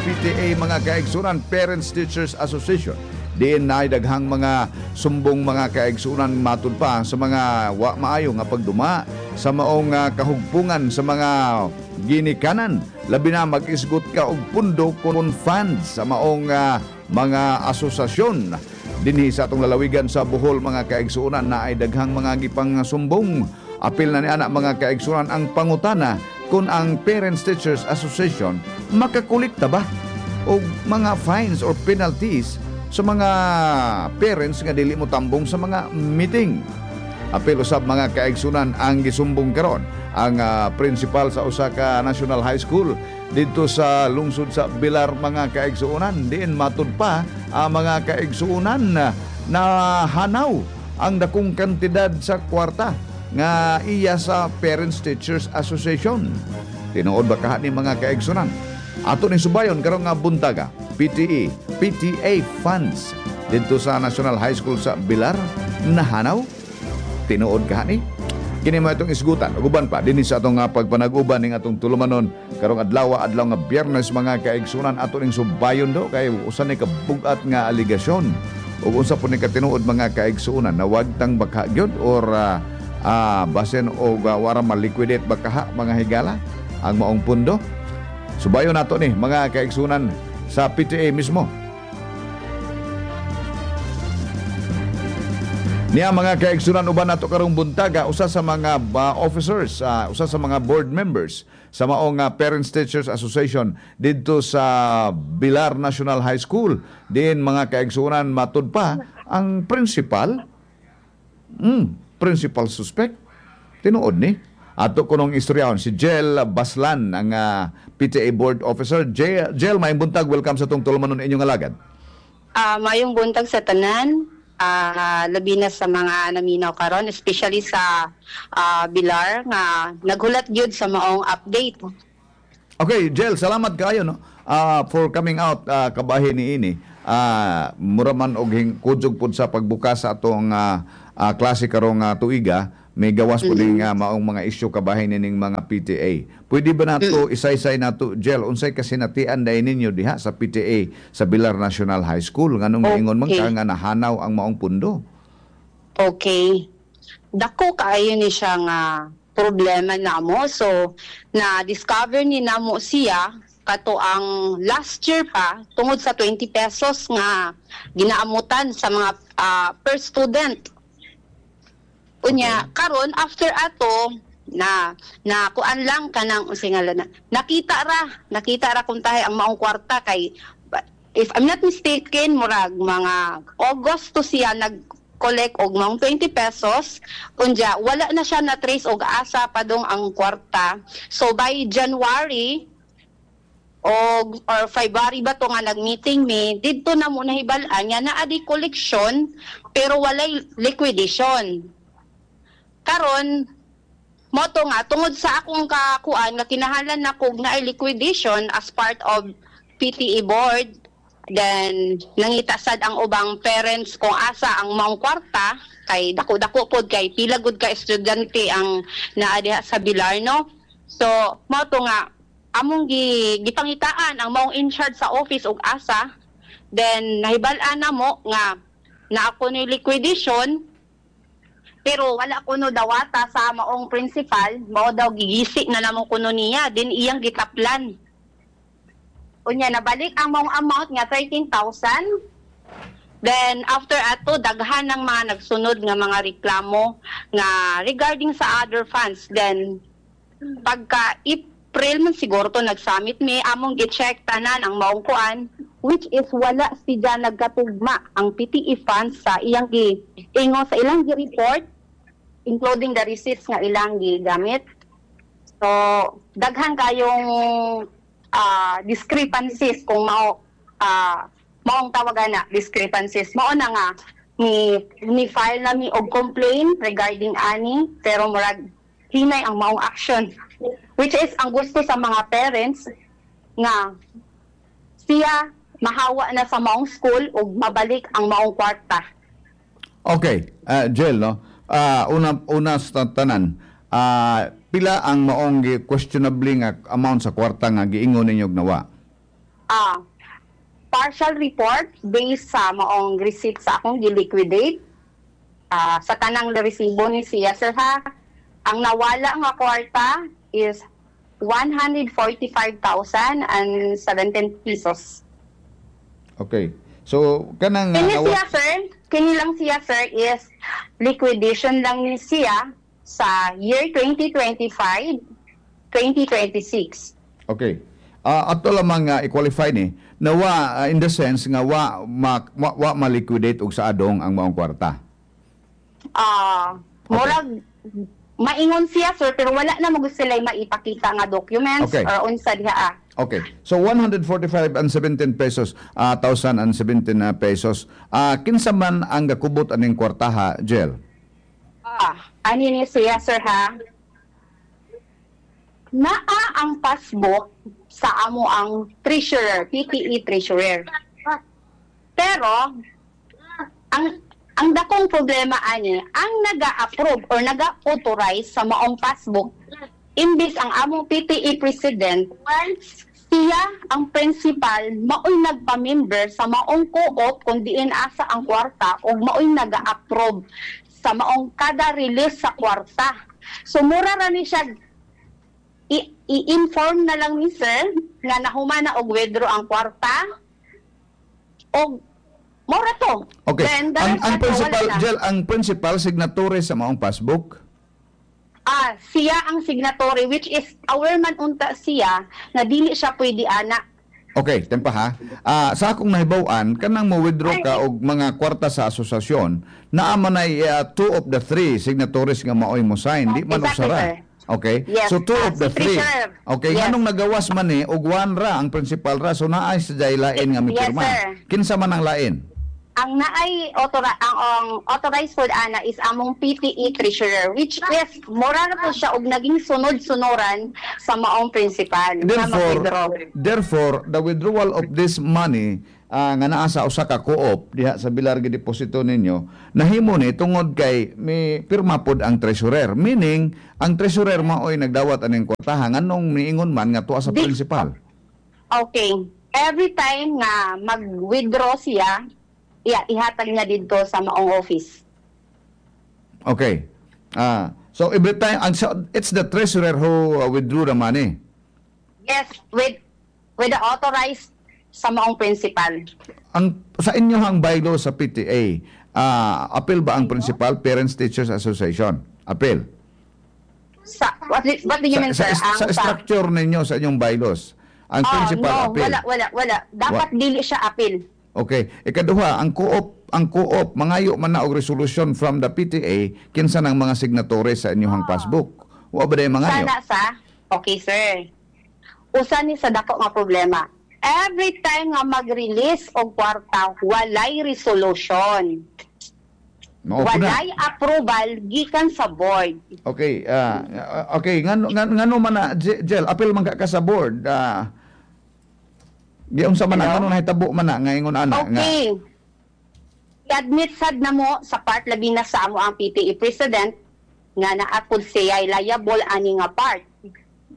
PTA, mga kaigsunan, Parents Teachers Association. Diin na daghang mga sumbong, mga kaigsunan, matud pa sa mga wa maayo nga pagduma sa maong kahugpungan sa mga ginikanan, labi na mag-isgot ka og pundo kon funds sa maong mga asosasyon dinhi sa atong lalawigan sa Bohol. Mga kaigsuonan, na ay daghang mga gipang sumbong. Apil na ni ana, mga kaigsuonan, ang pangutana kung ang Parents Teachers Association makakolekta ba og mga fines or penalties sa mga parents nga dili mo tambong sa mga meeting. Apil usab, mga kaigsunan, ang gisumbong karon ang principal sa usa ka national high school didto sa lungsod sa Bilar, mga kaigsuonan, diin matud pa ang mga kaigsuonan na hanaw ang dakong kantidad sa kwarta nga iya sa Parents Teachers Association. Tinuod ba kaha ni, mga kaigsunan? Ato ni subayon karong nga buntaga, PTE, PTA funds didto sa National High School sa Bilar nahanaw, tinuod kaha ni? Kini mo itong isgutan ug uban pa dinhi sa atong pagpanag-uban ning atong tulumanon karong adlaw, adlaw nga Biyernes, mga kaigsunan. Ato ning subayon do kay usa ni kabugat nga aligasyon ug unsa po ni katinuod, mga kaigsunan, na wagtang baka gyud or basin og wara ma-liquidate ba kaha, mga higala, ang maong pundo. Subayon nato ni, mga kaigsunan, sa PTA mismo. Niya, mga kaigsunan, uban nato karong buntaga usa sa mga officers, usa sa mga board members sa maong Parents Teachers Association didto sa Bilar National High School. Diin, mga kaigsunan, matud pa ang principal, principal suspect. Tinuod ni? Ato kunong istoryahon si Jel Baslan, ang PTA board officer. Jel, Jel, maayong buntag. Welcome sa tong tulumanon, inyong alagad. Maayong buntag sa tanan, labi na sa mga naminaw karon, especially sa Bilar nga naghulat gyud sa maong update. Okay, Jel, salamat kayo, no, for coming out kabahin ni ini. Mura man og kudyog pud sa pagbukas sa atong klase karong tuiga, may gawas pud mm nga maong mga isyu kabahin nining mga PTA. Pwede ba nato isaysay nato, Jel, unsay kasinatian dai ninyo diha sa PTA sa Bilar National High School, nganong niingon man ka nga nahanaw ang maong pundo? Okay. Dako kaayo ni siya nga problema namo. So, na-discover ni namo siya kato ang last year pa tungod sa 20 pesos nga ginaamutan sa mga per student. Unya, karon after ato na na kuan lang kanang unsay ngalan na nakita ra kung tahay ang maong kwarta kay if I'm not mistaken, murag mga August to siya nag collect og maong 20 pesos. Unya wala na siya na trace og asa padong ang kwarta. So by January og or February ba to nga nag-meeting mi didto na mo nahibal-an nga naa di collection pero walay liquidation. Karon mo to nga tungod sa akong kakuan nga kinahanglan na kog naay liquidation as part of PTA board, then nangita sad ang ubang parents kung asa ang maong kwarta kay dako-dako pod kay pila gud ka estudyante ang naa diha sa Bilar, no? So mo to nga among gipangitaan ang maong in charge sa office og asa. Then nahibal-an na mo nga naa ko ni liquidation pero wala kuno dawata sa maong principal. Mao daw gigisi na namo kuno niya din iyang gitaplan. Unya nabalik ang maong amount nga 13,000. Then after ato, daghan ng mga nagsunod nga mga reklamo nga regarding sa other funds. Then pagka April man siguro to nag-summit mi, among gi-check tanan ang maong kuan, which is wala siya nagkatugma ang PTE funds sa iyang gi ingon sa ilang gi-report, including the receipts nga ilang gigamit. So daghan kayong discrepancies kung mao maong tawagan na discrepancies. Mao na nga ni file na mi og complaint regarding ani pero murag hinay ang maong action, which is ang gusto sa mga parents nga siya mahawa na sa maong school ug mabalik ang maong kwarta. Okay, Jel, no? Una una sa tanan, pila ang maong questionably nga amount sa kwarta nga giingon ninyo og nawa? Partial report based sa maong receipt sa akong gi-liquidate. Sa tanang resibo ni siya, sir, ha. Ang nawala nga kwarta is 145,017 pesos. Okay. So kanang Kini siya, sir, kini lang siya, sir, is liquidation lang ni siya sa year 2025, 2026. Okay. Ato lamang nga i-qualify ni na wa in the sense nga wa ma-liquidate og sa adong ang maong kwarta. Murag maingon siya, sir, pero wala na mo sila maipakita nga documents or unsa diha ah. Okay. So 145 and 17 pesos, 1,017 pesos. Kinsa man ang gakubot aning kwartaha, Jel? Ani ni siya, sir, ha. Naa ang passbook sa amo ang treasurer, PTE treasurer. Pero ang dakong problema ani, ang naga-approve or naga-authorize sa maong passbook, imbis ang among PTE president, siya ang principal, maoy nagpa-member sa maong co-op kung diin asa ang kwarta ug maoy naga-approve sa maong kada release sa kwarta. So mura ra ni siya i-inform na lang ni sir nga nahuman na og withdraw ang kwarta og mura to. Okay. Then, Ang dapat principal, wala na. Jel, ang principal signatory sa maong passbook? Siya ang signatory, which is aware man unta siya na dili siya pwede ana. Okay, tempa ha. Sa akong nahibaw-an, kanang mo withdraw ka og mga kwarta sa asosasyon, naa man ay two of the three signatories nga maoy mo sign, di man usara. Sir. Okay? Yes. So two of the Si three. treasurer. Okay, nganong nagawas man ni og one ra ang principal ra, so naay sa lain nga mipirma. Yes, sir. Kinsa man ang lain? Ang naay ang authorized pod ana is among PTE treasurer, which is mura na po siya og naging sunod-sunuran sa maong principal na Therefore, mag-withdraw. therefore, the withdrawal of this money nga naa sa usa ka co-op diha sa Bilar gideposito ninyo, nahimo ni tungod kay may pirma pod ang treasurer. Meaning, ang treasurer maoy nagdawat aning kwartaha, nganong niingon man nga tuwa sa principal? Okay. Every time nga mag-withdraw siya, ihatag niya dito sa maong office. Okay. So every time so it's the treasurer who withdrew the money. Yes, with the authorized sa maong principal. Ang sa inyo ang bylaw sa PTA, appeal ba ang principal, Parents Teachers Association? Appeal. Sa what do you mean, sa, sir? sa, Ang sa structure ninyo sa inyong bylaws, ang principal no, appeal? Wala, wala, wala. Dapat dili siya appeal. Okay. Ikaduha, ang co-op mangayo man na og resolution from the PTA kinsa nang mga signatories sa inyong passbook. Wa ba day mangayo? Sana sa Okay, sir. Usa ni sa dako nga problema. Every time nga mag-release og kwarta, walay resolution. Mao po na. Walay approval gikan sa board. Okay, okay, ngano man na, Jel, appeal man ka sa board. Giunsa man na, Hello? ngano nahitabo man na nga ingon ana nga? Okay. I-admit sad na mo sa part, labi na sa amo ang PTE president, nga naapod siya liable ani nga part.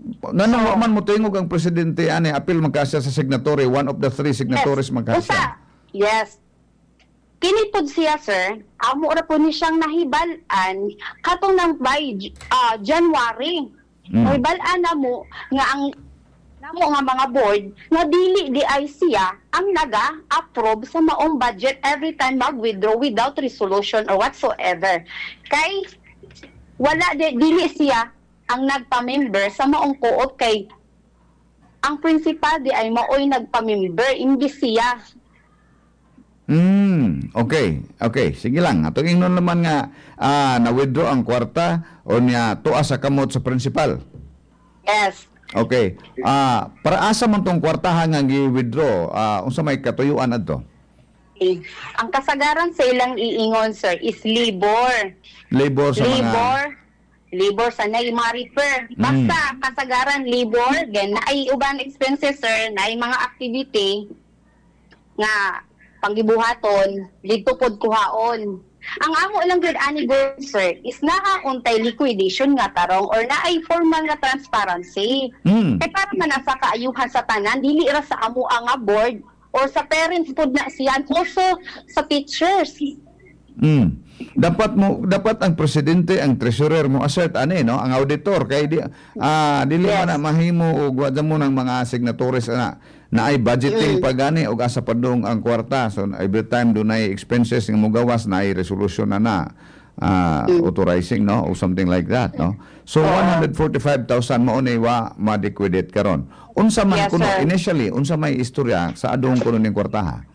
Ngano wa man mo tingog ang presidente ani, appeal man ka siya sa signatory, one of the three signatories man ka Usa. siya? Yes. Kini pod siya, sir, amo ra po ni siyang nahibal-an katong nang by January. Nahibal-an na mo nga ang namo nga mga board nga dili di ay siya ang naga-approve sa maong budget every time mag-withdraw without resolution or whatsoever. Kay wala di, dili siya ang nagpa-member sa maong co-op, kay ang principal di ay maoy nagpa-member imbis siya. Okay. Sige lang. Atong ingnon naman nga na-withdraw ang kwarta o niya tuwa sa kamot sa principal. Yes. Okay. Para asa man tong kwartahan nga gi-withdraw? Unsa may katuyuan adto? Okay. Ang kasagaran sa ilang iingon, sir, is labor. Labor sa mga Labor, labor sa nay mga repair. Basta kasagaran labor, then naay uban expenses, sir, naay mga activity nga panggibuhaton, dito pod kuhaon. Ang amo lang gyud ani goal, sir, is naa untay liquidation nga tarong or naay formal nga transparency. Kay para man na sa kaayuhan sa tanan, dili ra sa amo ang nga board or sa parents pud na siya, and also sa teachers. Dapat ang presidente, ang treasurer mo assert ani, no, ang auditor, kay di dili man na mahimo og wa mo ng mga signatories ana na ay budgeting pa gani og asa padung ang kwarta. So every time dunay expenses nga mogawas, na ay resolution na na authorizing, no, or something like that, no? So 145,000 mao ni wa ma-liquidate karon. Unsa man Yes, kuno sir. initially, unsa may istorya sa adong kuno ning kwartaha?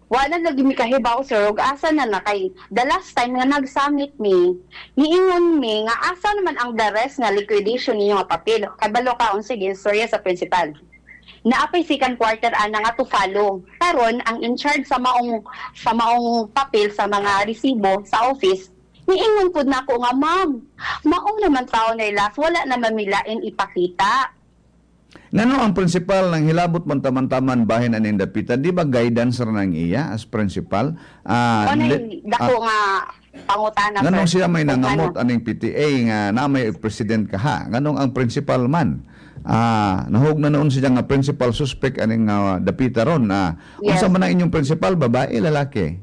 Wala lagi mi kahibaw, sir, ug asa na na, kay the last time nga nag-summit mi, niingon mi nga asa naman ang the rest nga liquidation ninyo nga papel, kabalo ka unsa istorya sa principal. Naapay second quarter ana nga to follow. Karon ang in charge sa maong papel, sa mga resibo sa office, niingon pud nako nga, "Ma'am, mao naman tao na last, wala naman milain ipakita." Ngano ang principal nang hilabot man taman-taman bahin aning dapita? Di ba guidance ra nang iya as principal? O nay dako nga pangutana, Nganong sir. siya may Kung nangamot ano. Aning PTA nga na may president ka ha? Nganong ang principal man? Nahug na noon siya nga principal suspect aning dapita ron. Yes. Unsa man ang inyong principal, babae, lalaki?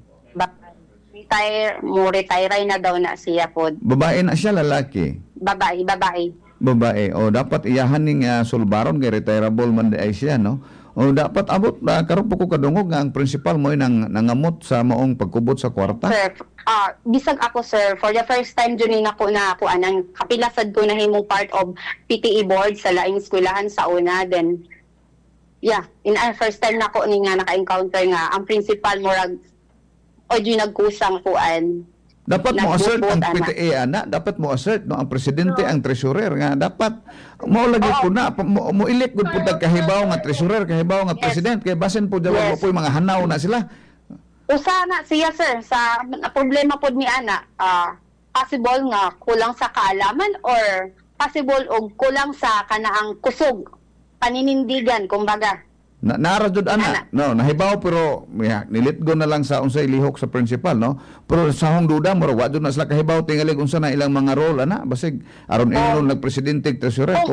Retire mo, retire na daw na siya pod. Babae na siya, lalaki? Babae, babae. Babae. O dapat iyahan ning sulbaron kay retirable man di ay siya, no? O dapat abot na karon po ko kadungog nga ang principal mo nang nangamot sa maong pagkubot sa kwarta. Sir, bisag ako, sir, for the first time jud ni nako na ako anang kapila sad ko nahimong part of PTA board sa laing eskwelahan sa una. Then yeah, in our first time nako ni nga naka-encounter nga ang principal murag o jud nagkusang kuan. Dapat mo assert ang Nagbubot, ana. PTA ana, dapat mo assert, no, ang presidente, ang treasurer, nga dapat mo lagi po na mo elect gud pud kahibaw nga treasurer, kahibaw nga president, kay basin po yes. Po mga hanaw na sila. Usa na siya, sir, sa na problema pod ni ana, possible nga kulang sa kaalaman or possible og kulang sa kanaang kusog paninindigan kumbaga. Na nara jud ana. Ana. No, nahibaw pero ya, nilitgo na lang sa unsay lihok sa principal, no. Pero sa hong duda mo wa jud na sila kahibaw tingali unsa na ilang mga role ana, basig aron ingon nagpresidente, treasurer.